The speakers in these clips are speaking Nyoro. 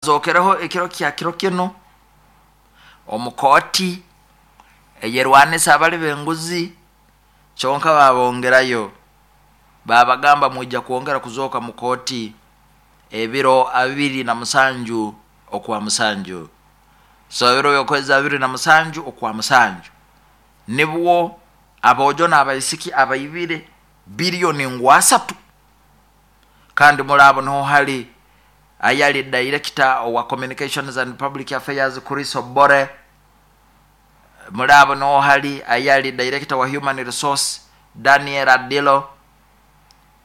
Bazokereho ekiro kya kiro kinu omu kooti eyerwanisa abali b'enguzi, kyonka babongerayo babagamba mwija kwongera kuzooka mu kooti ebiro 27 okwa musanju. So ebiro by'okwezi 27 okwa musanju nibwo aboojo n'abaisiki abaibire biliyoni ngu asatu, kandi muri abo niho hali ayali director owa Communications and Public Affairs Chris Obore, muri abo niho hali ayali director wa Human Resource Daniel Adilo,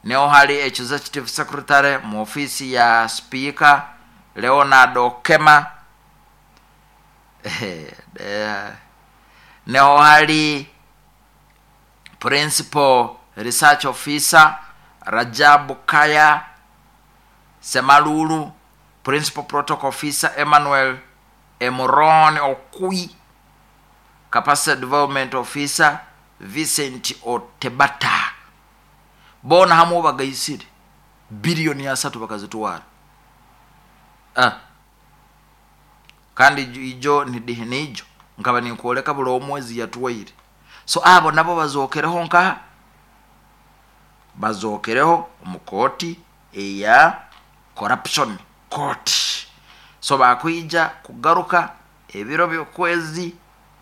niho hali executive secretary mu ofisi ya Speaker Leonard Okema, niho hali principal research officer Rajab Kaya Semalulu, principal protocol officer Emmanuel Emuron Okui, capacity development officer Vincent Otebata. Boona hamwe bagaisire biliyoni asatu bakazitwara. Kandi ijo niijo nkaba ninkwoleka buli omwezi yatwaire. So abo nabo bazokereho nkaha? Bazokereho omu kooti eya corruption court. So bakwija kugaruka ebiro by'okwezi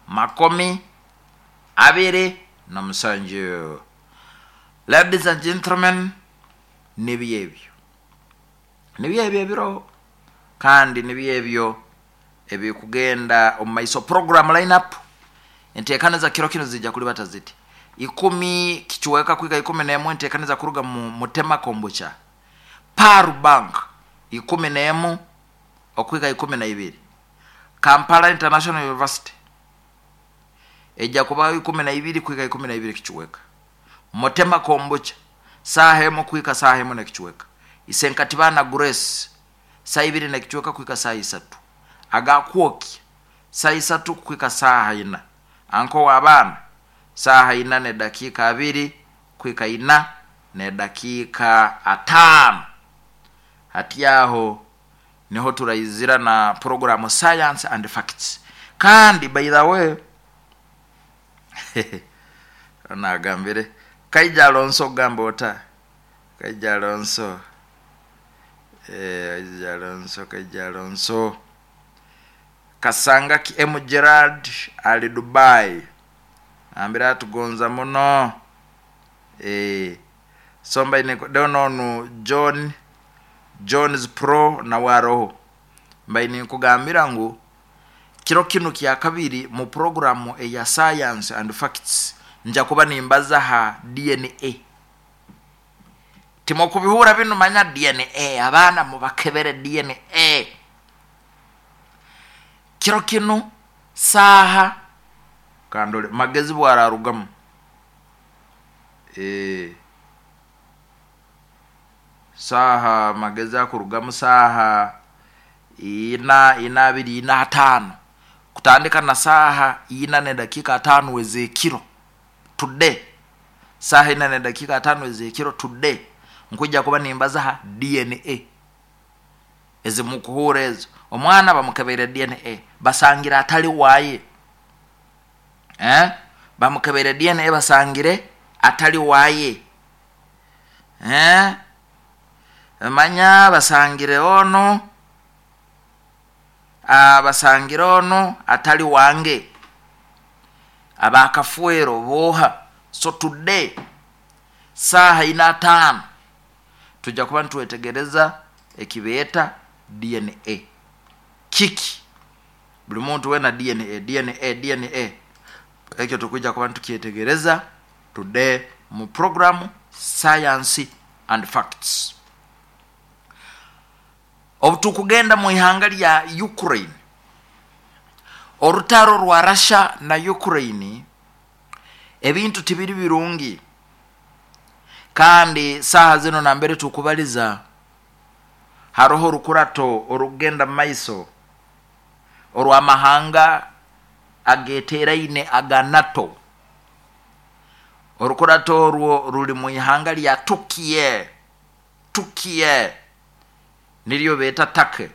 27. Ladies and gentlemen, nibyo ebyo. Nibyo ebyo ebiro kandi nibyo ebyo ebikugenda omu maiso. Program lineup enteekaniza kiro kinu zijja kulibata ziti: 10 kicweka kwika 11 enteekaniza kuruga mu Mutema Kombucha, Paru Bank 11 okwika 12, Kampala International University ejja kubaho 12 kwika 12 kicweka, Mutema Kombucha saaha emu kwika saaha emu n'ekicweka, Isenkatibana Grace saa ibiri n'ekicweka kwika saa isatu, Agakwokya saa isatu kwika saaha ina, Anko w'abaana saaha ina n'edakiika abiri kwika ina n'edakiika ataano. Hati aho niho turaizira na programu Science and Facts. Kandi by the way, nagambire Kaija Alonso ogamba ota? Kaija Alonso, Kaija Alonso, Kaija Alonso Kasangaki M Gerard ali Dubai, ambire atugonza muno. So mbaine nonu John Jones Pro nawe aroho. Mbaine nkugambira ngu kiro kinu kya kabiri mu programu eya Science and Facts nja kuba nimbaza ha DNA. Timukubihura binu, manya DNA, abaana mubakebere DNA. Kiro kinu saaha kandole magezi bwararugamu. Saaha magezi akurugamu saaha ina, ina abiri, ina atano, kutandika na saaha ina n'edakiika atano ez'ekiro today, saaha ina n'edakiika atano ez'ekiro today nkwija kuba nimbaza ha DNA ezimukuhuura ezo. Omwana bamukebeire DNA basangire atali waaye, bamukebeire DNA basangire atali waaye, manya basangire ono, basangire ono atali wange, abakafuero boha. So today saaha ina atano tujja kuba nitwetegereza ekibeeta DNA kiki. Buli muntu wena DNA, DNA, DNA, ekyo tukwijja kuba nitukyetegereza today mu programu Science and Facts. Obu tukugenda mu ihanga lya Ukraine, orutaro rwa Russia na Ukraine, ebintu tibiri birungi, kandi saaha zino nambere tukubaliza haroho orukurato orukugenda mu maiso orw'amahanga ageteraine aga NATO. Orukurato orwo ruri mu ihanga lya Turkey, Turkey niryo beeta Turkey.